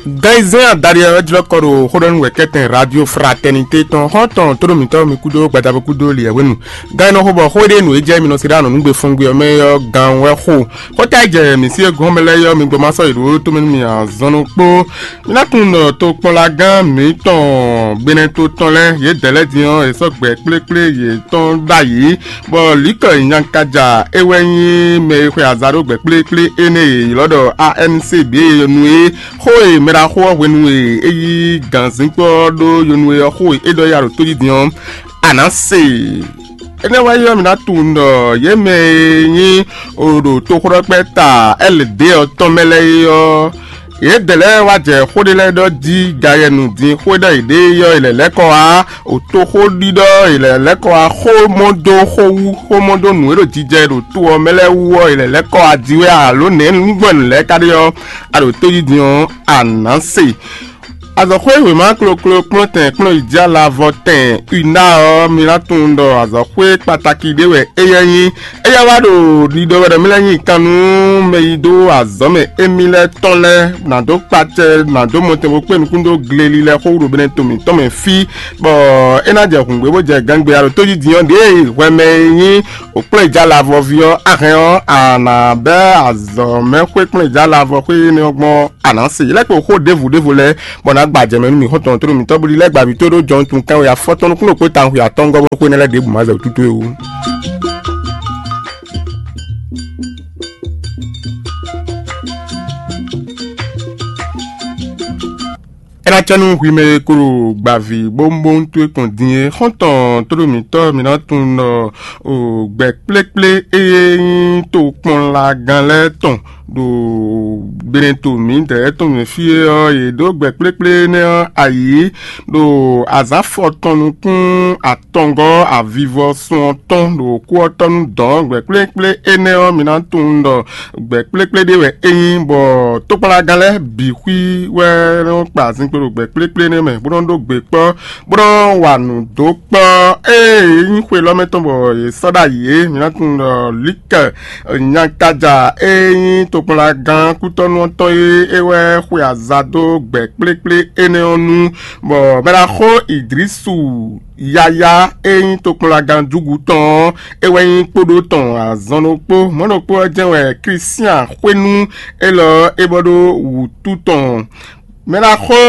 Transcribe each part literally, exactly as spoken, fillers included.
Gan e zɛ́n adaɖé ɔ́ jlɔ́ kɔ ɖo xóɖɔ́nú wɛ̌kɛ́tɛn Radio Fraternité tɔn xɔ́ntɔn tóɖó mǐtɔn mi kúdó gbadabo kúdó liɛ̌wénu. Gan e nɔ xo bɔ xó e ɖe nǔ e jɛ mi nɔ se ɖó anɔ̌nugbe fɔngbe ɔ́ mɛ ɔ́ gan wɛ xo. Xóta e jɛ mǐ sí e gɔ́n mɛ lɛ́ɛ ɔ́, mi gbɔ ma sɔ́ yě ɖó tomɛ nú mì azɔn ɖokpó. Mi ná tunwun ɖɔ tokpɔnlagán mǐtɔn Benɛto tɔn lɛ́ɛ, yědɛɛ lɛ́ɛ din ɔ́, è sɔ́ gbɛ kplékplé yětɔn ɖ'ayǐ, bɔ Lǐkɔ Nyankaja é wɛ nyí mɛ e xwe aza ɖó gbɛ kplékplé énɛ́ e è ylɔ́ ɖɔ A N C B e nu é. Xó e mɛ ɖaxó ɔ́ hwenu e é yí gǎnzínkpɔ́ ɔ́ ɖó yonu é ɔ́, xó e é ɖɔ yá ɖo tó jí din ɔ́, a nǎ se. Énɛ́ wɛ nyí ɔ́, mǐ ná tunwun ɖɔ yě mɛ e nyí o ɖo toxóɖɔkpɛ́ta L D ɔ́ tɔn mɛ lɛ́ɛ é ɔ́, yědɛɛ lɛ́ɛ wá jɛ xó ɖé lɛ́ɛ ɖɔ jí gayɛnu din xó e ɖɔ yěɖée é ɔ́, è lɛ̌ lɛ́ kɔ wá o toxóɖiɖɔ, è lɛ̌ lɛ́ kɔ wá xó mɔ dó xó wú, xó mɔ dó nǔ e ɖo jijɛ ɖo to ɔ́ mɛ lɛ́ɛ wú ɔ́, è lɛ̌ lɛ́ kɔ wá jí wɛ alo nɛ̌ nǔgbɛ́nú lɛ́ɛ ka ɖe ɔ́, a ɖo tójí din ɔ́, a nǎ se. Azɔ̌xwé wěma kloklo kplɔ́ntɛn kplɔ́n yi jɛ alavɔ tɛn Una ɔ́, mi ná tunwun ɖɔ azɔ̌xwé kpataki ɖé wɛ éyɛ́ nyí. Éyɛ́ wá ɖo ɖiɖɔ wɛ ɖɔ mí lɛ́ nyi kan nú mɛ yi dó azɔ̌ mɛ émí lɛ́ɛ tɔn lɛ́ɛ, nǎ dó kpacɛ, nǎ dó mɔtɛn bó kpé nukún dó gleli lɛ́ɛ xó ɖo Benɛto mǐtɔn mɛ fí, bɔ é ná jɛ hǔngbé bó jɛ gangbé alo tójí din ɔ́ ɖěe hwɛ mɛ e nyí òkplɔ́njǎlavɔví ɔ́, a hɛn ɔ́, a nǎ bɛ́ azɔ̌mɛxwé kplɔ́njǎlavɔxwé énɛ́ ɔ́ gbɔn. A nǎ se. Lɛ́ kpo xó ɖěvo ɖěvo lɛ́ɛ, bɔ nǎ gba jɛ mɛ nú mì xɔ́ntɔn tló mǐtɔn bó ɖi lɛ́ gba mǐ tó ɖó jɔnutun kánwe afɔtɔn nukúnnú kpó tawun xwe atɔ́ngɔ́ bó xwé énɛ́ lɛ́ɛ ɖěbǔ má zɛ wútu towe wú. É ná cɛ nú hwi mɛ e ko ɖo gbavǐ bómbóm towe kɔn din é, xɔ́ntɔn tló mǐtɔn mǐ ná tunwun ɖɔ o gbɛ kplékplé e nyí tokpɔnlagán lɛ́ɛ tɔn ɖo Benɛto mǐdɛɛ tɔn mɛ fí é ɔ́, yě ɖó gbɛ kplékplé énɛ́ ɔ́ ayǐ ɖo azǎn afɔtɔn nukún atɔngɔ́ avivɔsun ɔ́ tɔn ɖo kú ɔ́ tɔ́ nú dɔ̌n. Gbɛ kplékplé énɛ́ ɔ́, mi ná tunwun ɖɔ gbɛ kplékplé ɖé wɛ é nyí, bɔ tokpɔnlagán lɛ́ɛ bǐ xwí wɛ nɔ kpa azinkpo ɖo gbɛ kplékplé énɛ́ mɛ, bó nɔ ɖó gbe kpɔ́, bó nɔ wa nǔ dó kpɔ́. Ée é nyí xwe lɔ́ mɛ tɔn bɔ yě sɔ́ ɖ'ayǐ é, mi ná tunwun ɖɔ Lika Nyankaja e nyí tokpɔnlagán kútɔ́nú ɔ́ tɔn é, é wɛ xwe aza dó gbɛ kplékplé énɛ́ ɔ́ nu, bɔ mɛ ná xo Idrisu yáyá e nyí tokpɔnlagán júgu tɔn ɔ́, é wɛ nyí kpóɖó tɔn azɔn ɖokpó. Mɔ̌ ɖokpó ɔ́ jɛ́n wɛ Klísián xwénú élɔ́ é bɔ ɖó wǔtu tɔn. Mɛ ná xo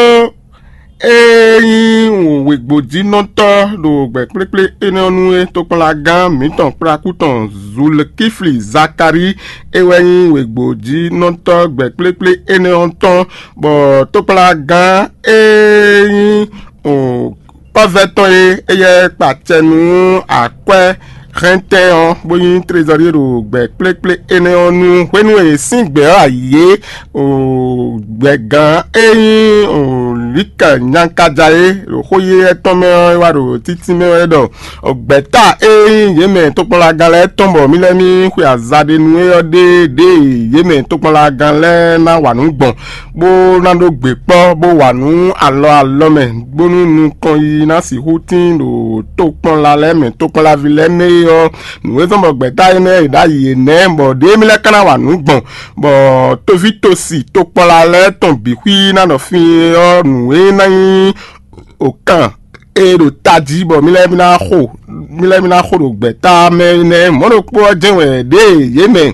e nyí wěgbójínɔtɔ́ ɖo gbɛ̌kplékplé énɛ́ ɔ́ nu é, tokpɔnlagán mǐtɔn kplakú tɔn Zulkifli Zakalíi é wɛ nyí wěgbójínɔtɔ́ gbɛ̌kplékplé énɛ́ ɔ́ tɔn, bɔ tokpɔnlagán e nyí kpɔ́vɛ́ tɔn e éyɛ́ kpa acɛ nú akwɛ́ hɛntɛn ɔ́, bó nyí trezɔ́rie ɖo gbɛ kplékplé énɛ́ ɔ́ nu. Hwenu e è sín gbɛ ɔ́ ayǐ é, gbɛgán e nyí Lika Nyankaja é, ɖo xó yé tɔn mɛ ɔ́, é wá ɖo títí mɛ wɛ ɖɔ gbɛ̌ta e nyí yě mɛ tokpɔnlagán lɛ́ɛ tɔn bɔ mí lɛ́ mí xwe aza ɖe nú é ɔ́ ɖe ɖěe yě mɛ tokpɔnlagán lɛ́ɛ ná wa nǔ gbɔn, bó ná ɖó gbe kpɔ́, bó wa nǔ alɔ alɔ mɛ, bónú nukɔn yiyi ná sixú tín ɖo tokpɔnla lɛ́ɛ mɛ, tokpɔnlaví lɛ́ɛ mɛ é ɔ́, nǔ e zɔ́n bɔ gbɛ̌ta énɛ́ e ɖ'ayǐ é nɛ́, bɔ ɖěe mí lɛ́ ka ná wa nǔ gbɔn, bɔ tovítɔ́si tokpɔnla lɛ́ɛ tɔn bǐ xwí ná nɔ fí é ɔ́, nǔ e ná nyí òkan e ɖo tají bɔ mí lɛ́ mí ná xo mí lɛ́ mí ná xo ɖo gbɛ̌ta mɛ nɛ́. Mɔ̌ ɖokpó ɔ́ jɛ́n wɛ ɖěe yě mɛ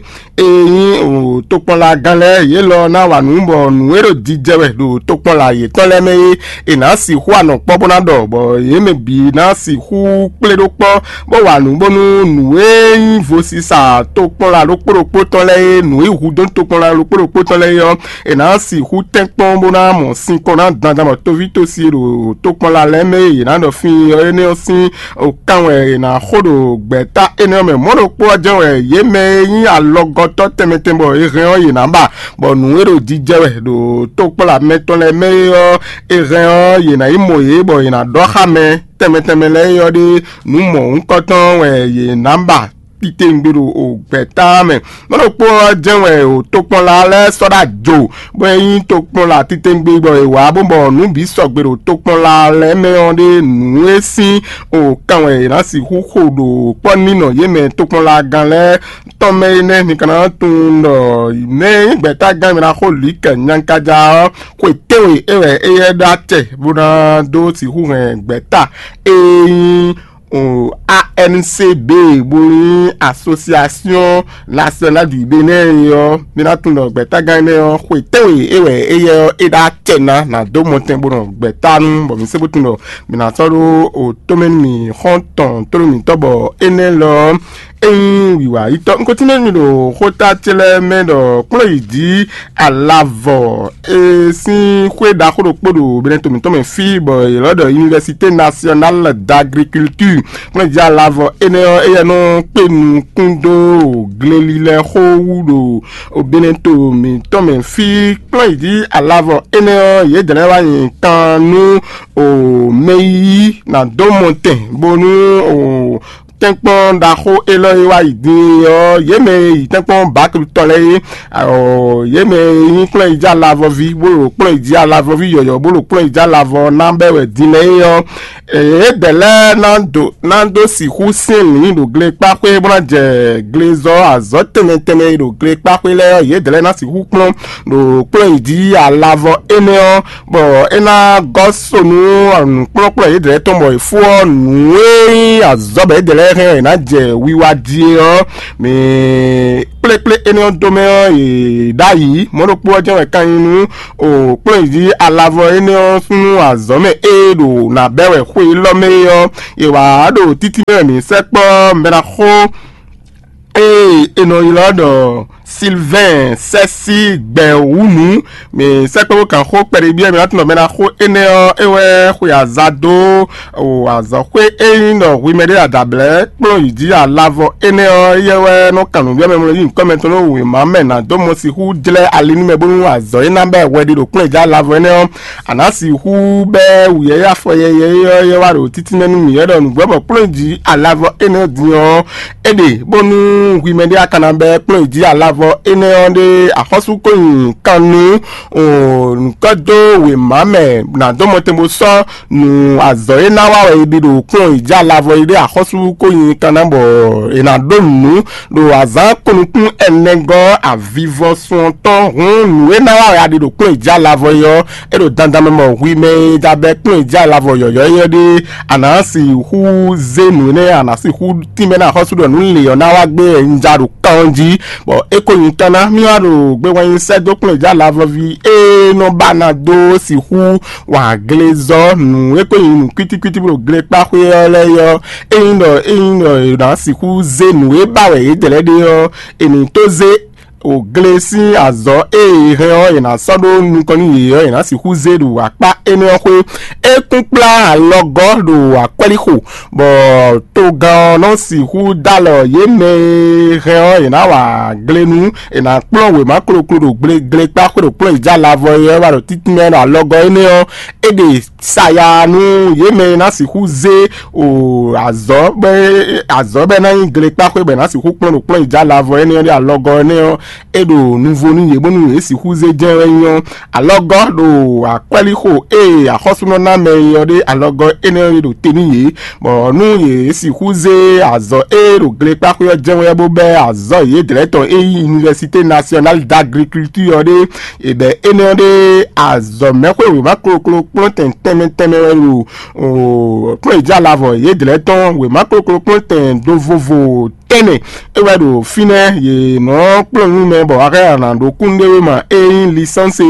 e nyí tokpɔnlagán lɛ́ɛ yě lɔ ná wa nǔ, bɔ nǔ e ɖo jijɛ wɛ ɖo tokpɔnla yětɔn lɛ́ɛ mɛ é, è nǎ sixú anɔ kpɔ́ bó ná ɖɔ, bɔ yě mɛ bǐ ná sixú kplé ɖó kpɔ́, bó wa nǔ bónú nǔ e nyí vosisa tokpɔnla ɖokpó ɖokpó tɔn lɛ́ɛ é, nǔ e hudó tokpɔnla ɖokpó ɖokpó tɔn lɛ́ɛ é ɔ́, è nǎ sixú tɛ́nkpɔ́n bó ná mɔ sinkɔn ná dandan bɔ tovítɔ́si e ɖo tokpɔnla lɛ́ɛ mɛ e yě ná ɖɔ fí ɔ́ énɛ́ ɔ́ sín kan wɛ è nǎ xo ɖo gbɛ̌ta énɛ́ ɔ́ mɛ. Mɔ̌ ɖokpó ɔ́ jɛ́n wɛ yě mɛ e nyí alɔgɔtɔ́ tɛnmɛ tɛnmɛ bɔ è hɛn ɔ́ yě ná ba, bɔ nǔ e ɖo jijɛ wɛ ɖo tokpɔnla mɛtɔn lɛ́ɛ mɛ é ɔ́, è hɛn ɔ́, yě ná yi mɔ yě bɔ yě ná ɖɔ xá mɛ tɛnmɛ tɛnmɛ lɛ́ɛ é ɔ́ ɖé nǔ mɔ̌hunkɔtɔn wɛ yě ná ba. titewungbe ɖo o gbɛ̌ta mɛ. Mɔ̌ ɖokpó ɔ́ jɛ́n wɛ o tokpɔnla lɛ́ɛ sɔ́ ɖó ajo, bɔ é nyí tokpɔnla titewungbe bɔ è wǎ bó bɔ nǔ bǐ sɔgbe ɖo tokpɔnla lɛ́ɛ mɛ ɔ́ ɖe nǔ e sín o kan wɛ è nǎ sixú xo ɖo kpɔ́ nínɔ yě mɛ tokpɔnlagán lɛ́ɛ tɔn mɛ é nɛ́. Mi ka ná tunwun ɖɔ mɛ e nyí gbɛ̌tágán e ná xo lǐkɛ nyankaja ɔ́, xwe tɛ́nwe é wɛ éyɛ́ ɖó acɛ bó ná dó sixú hɛn gbɛ̌ta e nyí o A N C B, bó nyí Association Nationale du Bénin ɔ́, mi ná tunwun ɖɔ gbɛ̌tágán énɛ́ ɔ́, xwe tɛ́nwe é wɛ éyɛ́ ɔ́ é ɖó acɛ ná ná dó mɔtɛn bó nɔ gbɛ̌ta nú, bɔ mi sɛ́ bó tunwun ɖɔ mi ná sɔ́ ɖó o tómɛ nú mì xɔ́ntɔn tlóló mǐtɔn, bɔ énɛ́ lɔ ɔ́, é nyí wǐwá yítɔ́. Un ko tínmɛ mi ɖo xóta ce lɛ́ɛ mɛ ɖɔ kplɔ́n yi jí alavɔ e sín xwé ɖaxó ɖokpó ɖo Benɛto mǐtɔn mɛ fí, bɔ yě lɔ́ ɖɔ Université Nationale d'Agriculture. Kplɔ́n yi jí alavɔ énɛ́ ɔ́, éyɛ́ nɔ kpé nukún dó glelilɛ xó wú ɖo Benɛto mǐtɔn mɛ fí. Kplɔ́n yi jí alavɔ énɛ́ ɔ́, yědɛɛ lɛ́ɛ wá nyi kan nú o mɛ yíyí ná dó mɔtɛn bónú o tɛ́nkpɔ́n ɖaxó élɔ́ e wá yi din é ɔ́, yě mɛ e yi tɛ́nkpɔ́n Baklu tɔn lɛ́ɛ é, ɔ, yě mɛ e nyí kplɔ́n yi jí alavɔví, bó ɖo kplɔ́n yi jí alavɔví yɔ̌yɔ́, bó ɖo kplɔ́n yi jí alavɔ ná bɛ́ wɛ din lɛ́ɛ é ɔ́, yědɛɛ lɛ́ɛ ná dó ná dó sixú syɛ́n lǐn ɖo glekpáxwé bó ná jɛ glezɔ́ azɔ̌ tɛnmɛ tɛnmɛ e ɖo glekpáxwé lɛ́ɛ ɔ́, yědɛɛ lɛ́ɛ ná sixú kplɔ́n ɖo kplɔ́n yi jí alavɔ énɛ́ ɔ́, bɔ é ná gɔ́ so nú nǔkplɔ́nkplɔ́n yědɛɛ tɔn, bɔ è fó ɔ́ nǔ e nyí azɔ̌ bɔ yědɛɛ lɛ́ɛ hɛn ɔ́, è nǎ jɛ wiwa jí é ɔ́, mɛ kplékplé énɛ́ ɔ́ dó mɛ ɔ́, è ɖ'ayǐ. Mɔ̌ ɖokpó ɔ́ jɛ́n wɛ ka nyí nú o kplɔ́n yi jí alavɔ énɛ́ ɔ́ súnnu azɔ̌ mɛ e ɖo nǎ bɛ́ wɛ xwe élɔ́ mɛ é ɔ́, è wǎ ɖo títí mɛ wɛ mǐ sɛkpɔ́ mɛ ná xó e è nɔ ylɔ́ ɖɔ Silvɛ́n Sɛ́sí Gbɛ̌wúnú. Mǐ sɛkpɔ́ bó kan xó kpɛɖé byɔ́ mǐ ná tunɔ mɛ ná xó énɛ́ ɔ́, é wɛ xwe aza dó o azɔ̌xwé e nyí ɖɔ hwi mɛ ɖé adablɛ́ kplɔ́n yi jí alavɔ énɛ́ ɔ́, éyɛ́ wɛ nɔ kan nǔ byɔ́ mɛ mlɔ́ yí nyǐkɔ mɛ tɔn ɖó wěma mɛ ná dó mɔ sixú jlɛ́ ali nú mɛ bónú azɔ̌ e ná bɛ́ hwɛ ɖe ɖo kplɔ́n yi jí alavɔ énɛ́ ɔ́, a nǎ sixú bɛ́ wǔyɛ́yɛ́ afɔ yɛyɛ é ɔ́, é wá ɖo títí mɛ nú mǐ wɛ ɖɔ nǔgbó bɔ kplɔ́n yi jí alavɔ énɛ́ ɔ́ din ɔ́, é ɖe bónú hwi mɛ ɖé a ka ná bɛ́ kplɔ́n yi jí alavɔ énɛ́ ɔ́ ɖé axɔ́sú ko nyi kan nú nǔkɔ́ dó wěma mɛ ná dó mɔtɛn bó sɔ́ nǔ azɔ̌ e ná wa wɛ è ɖe ɖo kplɔ́n yi jí alavɔ yi ɖé axɔ́sú ko nyi kan ná bɔ è nǎ ɖó nǔ ɖo azǎn ko nukún ɛnɛ gɔ́ avivɔsun ɔ́ tɔn. Hǔn nǔ e ná wa wɛ a ɖe ɖo kplɔ́n yi jí alavɔ yi ɔ́, é ɖo dandan mɛ mɔ hwi mɛ e ja bɛ́ kplɔ́n yi jí alavɔ yɔ̌yɔ́ énɛ́ ɖé, a nǎ sixú zé nǔ énɛ́, a nǎ sixú tínmɛ ná axɔ́sú ɖɔ nǔ lě ɔ́ ná wá gbé wɛ un ja ɖo kan ɔ́ jí, bɔ é ko nyi kan ná mì wá ɖo gbewannyi sɛ́ dó kplɔ́n yi jí alavɔví e nɔ ba ná dó sixú wa glezɔ́ nǔ e ko nyí nǔ kwítíkwítí bó ɖo glekpáxwé ɔ́ lɛ́ɛ ɔ́, ényí ɖɔ ényí ɖɔ è nǎ sixú zé nǔ e ba wɛ yě dlɛ̌ ɖe ɔ́, è nǐ tó zé o gle sín azɔ̌ e è hɛn ɔ́, è nǎ sɔ́ ɖó nukɔn nú yě ɔ́, è nǎ sixú zé ɖo akpá énɛ́ ɔ́ xwé. É kún kplá alɔgɔ́ ɖo akwɛ́líxo, bɔ togán ɔ́ nɔ sixú dó alɔ yě mɛ e hɛn ɔ́, è nǎ wa gle nú è nǎ kplɔ́n wěma kloklo ɖo gle glekpáxwé ɖo kplɔ́n yi jí alavɔ é ɔ́ wá ɖo títínmɛ ɖo alɔgɔ́ énɛ́ ɔ́, é ɖe saya nú yě mɛ e ná sixú zé o azɔ̌ bɔ azɔ̌ bɔ é ná nyí glekpáxwé bɔ è nǎ sixú kplɔ́n ɖo kplɔ́n yi jí alavɔ énɛ́ ɔ́ ɖé alɔgɔ́ énɛ́ ɔ́, é ɖo nuvo nú yě bónú yě sixú zé jɛ́n wɛ nyí ɔ́. Alɔgɔ́ ɖo akwɛ́líxo e axɔ́súnɔ ná mɛ e ɔ́ ɖé alɔgɔ́ énɛ́ ɔ́ ɖo te nú yě, bɔ nú yě sixú zé azɔ̌ e ɖo glekpáxwé ɔ́ jɛ́n wɛ bó bɛ́ azɔ̌ yědɛɛ tɔn e nyí Université Nationale d'Agriculture ɔ́ ɖé. È bɛ̌ énɛ́ ɔ́ ɖe azɔ̌mɛxwé wěma kloklo kplɔ́n tɛn tɛnmɛ tɛnmɛ wɛ ɖo kplɔ́n yi jí alavɔ yědɛɛ tɔn wěma kloklo kplɔ́n tɛn do vovo tɛnmɛ é wɛ ɖo fínɛ́. Yě nɔ kplɔ́n nú mɛ bɔ axɔ́ ana ɖo kúnɖéwéma e nyí lisánsi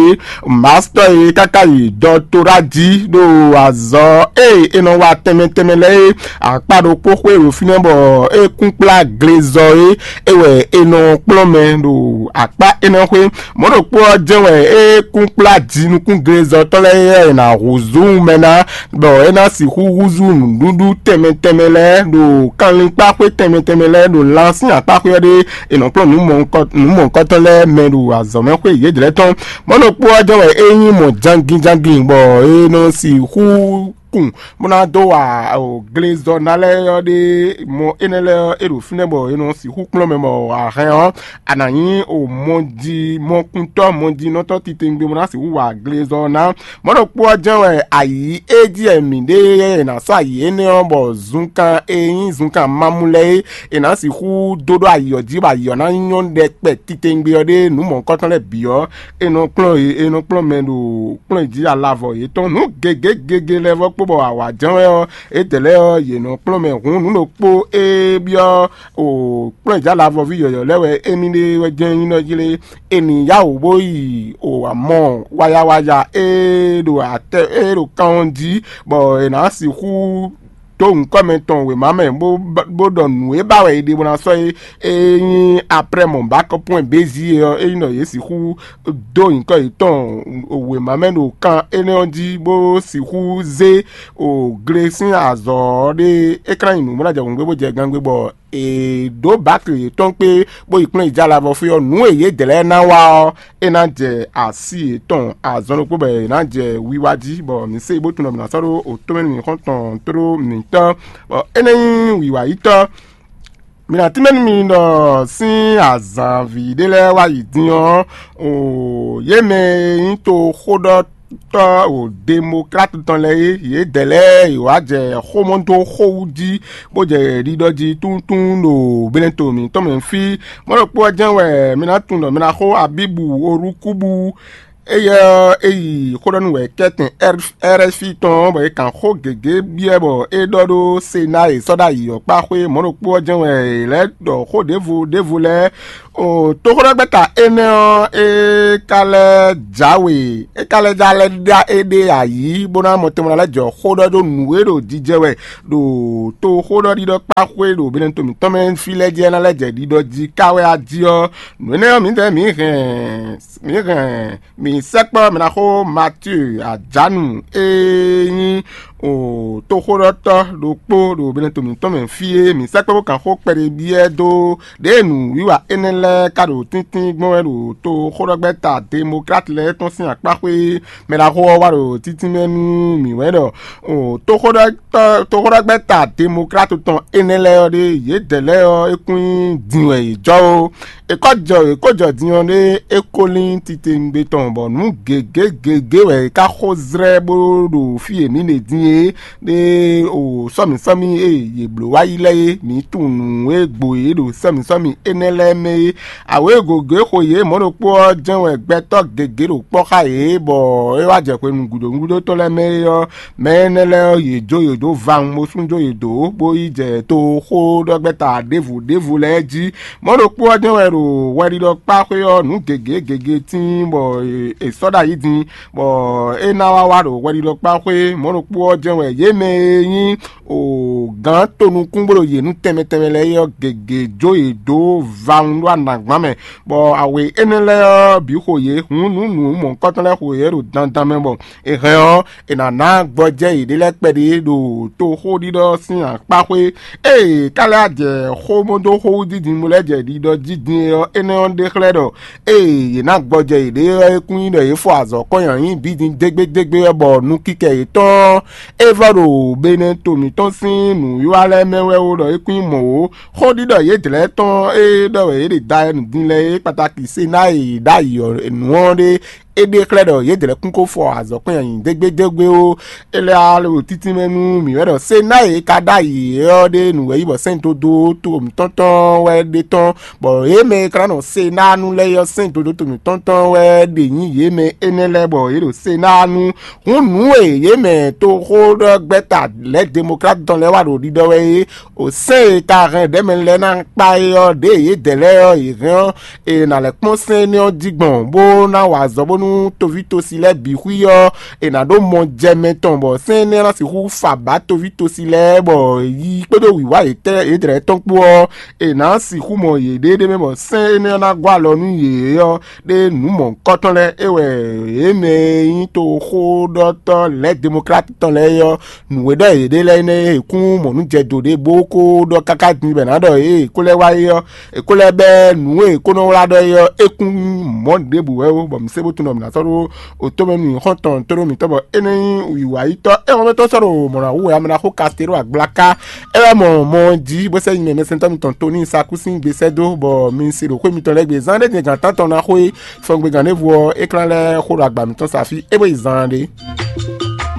mastɔ́ e káká yi dɔtora jí ɖo azɔ̌ e è nɔ wa tɛnmɛ tɛnmɛ lɛ́ɛ é akpá ɖokpó xwé ɖo fínɛ́ bɔ é kún kplá glezɔ é é wɛ è nɔ kplɔ́n mɛ ɖo akpá énɛ́ xwé. Mɔ̌ ɖokpó ɔ́ jɛ́n wɛ é kún kplá jinukúnglezɔtɔ́ lɛ́ɛ é ná húzú mɛ ná, bɔ é ná sixú húzú nǔɖuɖu tɛnmɛ tɛnmɛ lɛ́ɛ ɖo kanlin kpá xwé tɛnmɛ tɛnmɛ lɛ́ɛ ɖo lan sín akpá xwé ɔ́ ɖé. È nɔ kplɔ́n nǔ mɔ̌hunkɔ- nǔ mɔ̌hunkɔtɔn lɛ́ɛ mɛ ɖo azɔ̌mɛxwé yědɛɛ tɔn. Mɔ̌ ɖokpó ɔ́ jɛ́n wɛ é nyí mɔ̌ jangin jangin, bɔ é nɔ sixú kun bó ná dó wa glezɔ ná lɛ́ɛ ɔ́ ɖé. Mɔ énɛ́ lɛ́ɛ ɔ́, é ɖo fínɛ́ bɔ è nɔ sixú kplɔ́n mɛ bɔ a hɛn ɔ́, a nǎ nyí o mɔji mɔkuntɔ́ mɔjinɔtɔ́ titewungbe bó ná sixú wa glezɔ ná. Mɔ̌ ɖokpó ɔ́ jɛ́n wɛ ayǐ e jí wɛ mǐ ɖe e è nǎ sɔ́ ayǐ énɛ́ ɔ́ bɔ zunkan e nyí zunkan mamú lɛ́ɛ é, è nǎ sixú dó ɖó ayǐ ɔ́ jí bɔ ayǐ ɔ́ ná nyɔ́ ɖɛkpɛ titewungbe ɔ́ ɖé nǔ mɔ̌hunkɔtɔn lɛ́ɛ bǐ ɔ́, è nɔ kplɔ́n yě è nɔ kplɔ́n mɛ ɖo kplɔ́n jí alavɔ yětɔn. Nǔ gěgé gěgé lɛ́ɛ vɔ́ kpó bɔ awǎ jɛ́n wɛ ɔ́, édɛɛ lɛ́ɛ ɔ́, yě nɔ kplɔ́n mɛ hǔn nǔ ɖokpó e byɔ́ o kplɔ́n jí alavɔví yɔ̌yɔ́ lɛ́ɛ wɛ émí ɖe wɛ jɛ́n nyí nɔ jí lé. È nǐ yá wǔ bó yi o amɔ wayawaya e ɖo atɛ e ɖo kan ɔ́ jí, bɔ è nǎ sixú dó nyǐkɔ mɛ tɔn wěma mɛ bó bó ɖɔ nǔ e ba wɛ è ɖe bó ná sɔ́ é. E nyí aprɛ́ mɔ̌ ba kɔ́ pɔ́n bézi é ɔ́, é nyí ɖɔ yě sixú dó nyǐkɔ yětɔn wěma mɛ ɖo kan énɛ́ ɔ́ jí bó sixú zé o gle sín azɔ̌ ɔ́ ɖe. É ka ná nyi nǔ bó ná jɛ hǔngbé bó jɛ gangbé bɔ è ɖǒ bǎkli yětɔn kpé bó yi kplɔ́n yi jɛ alavɔ fí ɔ́, nǔ e yědɛɛ lɛ́ɛ ná wa ɔ́, é ná jɛ así yětɔn azɔn ɖokpó bɔ è nǎ jɛ wiwa jí, bɔ mǐ se bó tunwun ɖɔ mǐ ná sɔ́ ɖó otɔ́mɛnu mǐxɔ́ntɔn tló mǐtɔn, bɔ é ná nyí wǐwayítɔ́. Mi ná tínmɛ nú mi ɖɔ sín azǎn ví ɖé lɛ́ɛ wá yi din ɔ́, o yě mɛ e nyí toxóɖɔtɔ́ o demoklátu tɔn lɛ́ɛ é, yědɛɛ lɛ́ɛ yě wá jɛ xómɔdóxówú jí, bó jɛ ɖiɖɔ jí túntún ɖo Benɛto mǐtɔn mɛ fí. Mɔ̌ ɖokpó ɔ́ jɛ́n wɛ mi ná tunwun ɖɔ mi ná xo Abíbu Orúkúbu. Éyɛ́ ɔ́, é yi xó ɖɔ nú wɛ kɛ́tɛn R F I tɔn ɔ́, bɔ é kan xó gěgé byɔ́ bɔ é ɖɔ ɖó Senáa e sɔ́ ɖ'ayǐ ɔ́ kpá xwé. Mɔ̌ ɖokpó ɔ́ jɛ́n wɛ è lɛ́ ɖɔ xó ɖěvo ɖěvo lɛ́ɛ. O toxóɖɔgbɛ́ta énɛ́ ɔ́, é ka lɛ́ jǎwe, é ka lɛ́ já lɛ́ ɖá éɖée ayǐ, bó ná mɔ tɛnmɛ ná lɛ́ jɔ xó ɖɔ ɖó nǔ e ɖo jijɛ wɛ ɖo toxóɖɔɖiɖɔ kpá xwé ɖo Benɛto mǐtɔn mɛ fí lɛ́ɛ jí, é ná lɛ́ jɛ ɖiɖɔ jí ká wɛ a jí ɔ́. Nǔ énɛ́ ɔ́, mǐdɛɛ mǐ hɛn mǐ hɛn mǐ sɛkpɔ́ mǐ ná xó Matíu Ajánu e nyí toxóɖɔtɔ́ ɖokpó ɖo Benɛto mǐtɔn mɛ fí é. Mǐ sɛkpɔ́ bó kan xó kpɛɖé byɔ́ dó ɖěe nǔwiwa énɛ́ lɛ́ɛ ka ɖo tíntín gbɔn wɛ ɖo toxóɖɔgbɛ́ta Demokláti lɛ́ɛ tɔn sín akpá xwé é. Mɛ ɖaxó ɔ́ wá ɖo títínmɛ nú mǐ wɛ ɖɔ toxóɖɔgbɛ́ta Demokláti tɔn énɛ́ lɛ́ɛ ɔ́ ɖé, yědɛɛ lɛ́ɛ ɔ́, é kún nyí din wɛ yě jɔ ó. È kɔ́ jɔ è kó jɔ din ɔ́ ɖé, é ko lín titewungbe tɔn, bɔ nǔ gěgé gěgé wɛ è ká xo zlɛ́ bó ɖo fí e mǐ ɖe din é, ɖé o sɔ́mǐsɔ́mí e yě bló wá yi lɛ́ɛ é, mǐ tunwun nǔ e gbo yě ɖo sɔ́mǐsɔ́mí énɛ́ lɛ́ɛ mɛ é. Awě gěgé xo yě mɔ̌ ɖokpó ɔ́ jɛ́n wɛ gbɛtɔ́ gěgé ɖo kpɔ́ xá yě, bɔ é wá jɛ hwenu gǔdo gúdo tɔn lɛ́ɛ mɛ é ɔ́, mɛ énɛ́ lɛ́ɛ ɔ́, yě jó yě dó vawun bó sú jó yě dó, bó yi jɛ toxóɖɔgbɛ́ta ɖěvo ɖěvo lɛ́ɛ jí. Mɔ̌ ɖokpó ɔ́ jɛ́n wɛ ɖo hwɛɖiɖɔ kpá xwé ɔ́, nǔ gěgé gěgé tíin bɔ è sɔ́ ɖ'ayǐ din, bɔ é ná wá wá ɖo hwɛɖiɖɔ kpá xwé. Mɔ̌ ɖokpó ɔ́ jɛ́n wɛ yě mɛ e nyí o gǎn tonukún bó ɖo yě nú tɛnmɛ tɛnmɛ lɛ́ɛ é ɔ́, gěgé jó yě dó vawun ɖó anǎgbán mɛ, bɔ awě énɛ́ lɛ́ɛ ɔ́ bǐ xo yě, hǔn nǔ nǔ mɔ̌hunkɔtɔn lɛ́ɛ xo yě ɖo dandan mɛ bɔ è hɛn ɔ́, è nǎ ná gbɔjɛ́ yěɖée lɛ́ɛ kpɛɖé ɖo toxóɖiɖɔ sín akpá xwé. Ée ka lɛ́ jɛ xó bó dó xówú dídin bó lɛ́ jɛ ɖiɖɔ jí din é ɔ́, énɛ́ ɔ́ ɖe xlɛ́ ɖɔ ée yě ná gbɔjɛ yěɖée ɔ́, é kún nyí ɖɔ yě fɔ azɔ̌ kɔn nyi ayǐ bǐ din dégbédégbé ɔ́, bɔ nukikɛ yětɔn ɔ́, é vɔ ɖo Benɛto mǐtɔn sín nǔwiwa lɛ́ɛ mɛ wɛ ó, ɖɔ é kún nyí mɔ̌ ó. Xóɖiɖɔ yědɛɛ tɔn e ɖɔ wɛ yě ɖe da nǔ din lɛ́ɛ é kpatáki Senáa e yě ɖ'ayǐ ɔ́ nǔ ɔ́ ɖé. É ɖe xlɛ́ ɖɔ yědɛɛ kún ko fɔ azɔ̌ kɔn nyi ayǐ dégbédégbé ó. É lɛ́ wá ɖo títínmɛ nú mǐ wɛ ɖɔ Senáa e ka ɖ'ayǐ é ɔ́ ɖe nǔ wɛ yí bɔ sɛ́n dodó to mǐtɔn tɔn wɛ ɖe tɔn, bɔ yě mɛ e ka ná nɔ Senáa nu lɛ́ɛ ɔ́, sɛ́n dodó to mǐtɔn tɔn wɛ ɖe nyí yě mɛ énɛ́ lɛ́ɛ bɔ yě ɖo Senáa nu. Hǔn nǔ e yě mɛ toxóɖɔgbɛ́ta lɛ̌ demokláti tɔn lɛ́ɛ wa ɖo ɖiɖɔ wɛ é, o sɛ́n e ka hɛn ɖɛ̌mɛ lɛ́ɛ ná kpá é ɔ́, ɖěe yědɛɛ lɛ́ɛ ɔ́, yě hɛn ɔ́, è nǎ lɛ́ kpɔ́n sɛ́n énɛ́ ɔ́ jí gbɔn, bó ná wa azɔ̌ bónú toví tosi lɛ́ɛ bǐ xwí ɔ́, è nǎ ɖó mɔ jɛ mɛ tɔn, bɔ sɛ́n énɛ́ ná sixú fa bǎ toví tosi lɛ́ɛ, bɔ yi kpódó wǐwá yětɛn yědɛɛ tɔn kpó ɔ́, è nǎ sixú mɔ yěɖée ɖ'é mɛ, bɔ sɛ́n énɛ́ ɔ́ ná gɔ́ alɔ nú yě ɔ́, ɖé nǔ mɔ̌hunkɔtɔn lɛ́ɛ é wɛ yě mɛ e nyí toxóɖɔtɔ́ lɛ̌ demokláti tɔn lɛ́ɛ é ɔ́, nǔ e ɖɔ yě ɖe lɛ́ɛ nɛ́ é kún mɔ nǔ jɛ do ɖé bó ko ɖɔ káká din bɔ è nǎ ɖɔ yě kó lɛ́ wá é ɔ́, è kó lɛ́ bɛ́ nǔ e è kó nɔ wlá ɖɔ é ɔ́, é kún mɔ̌ ɖěbǔ wɛ ó, bɔ mǐ se bó tunɔ bɔ mǐ ná sɔ́ ɖó otó mɛ nú xɔ́ntɔn tó ɖó mǐtɔn bɔ é nɔ nyí wǐwayítɔ́. É hɔn mɛtɔn sɔ́ ɖo mɔ̌ ná hu wɛ ame ná xo kastelo agblaka. É wɛ mɔ mɔ ɔ́ jí bó sɛ́ nyi mɛ mɛsɛntɔ́ mitɔn Toni Sakúsín gbe sɛ́ dó bɔ mi se ɖo xwé mitɔn lɛ́ɛ gbe zán ɖé din gǎn tántɔn ná xo é. Fɔngbe gǎn ɖěvo ɔ́, é klán lɛ́ xo ɖo agba mǐtɔn sa fí é bó yi zaan ɖé.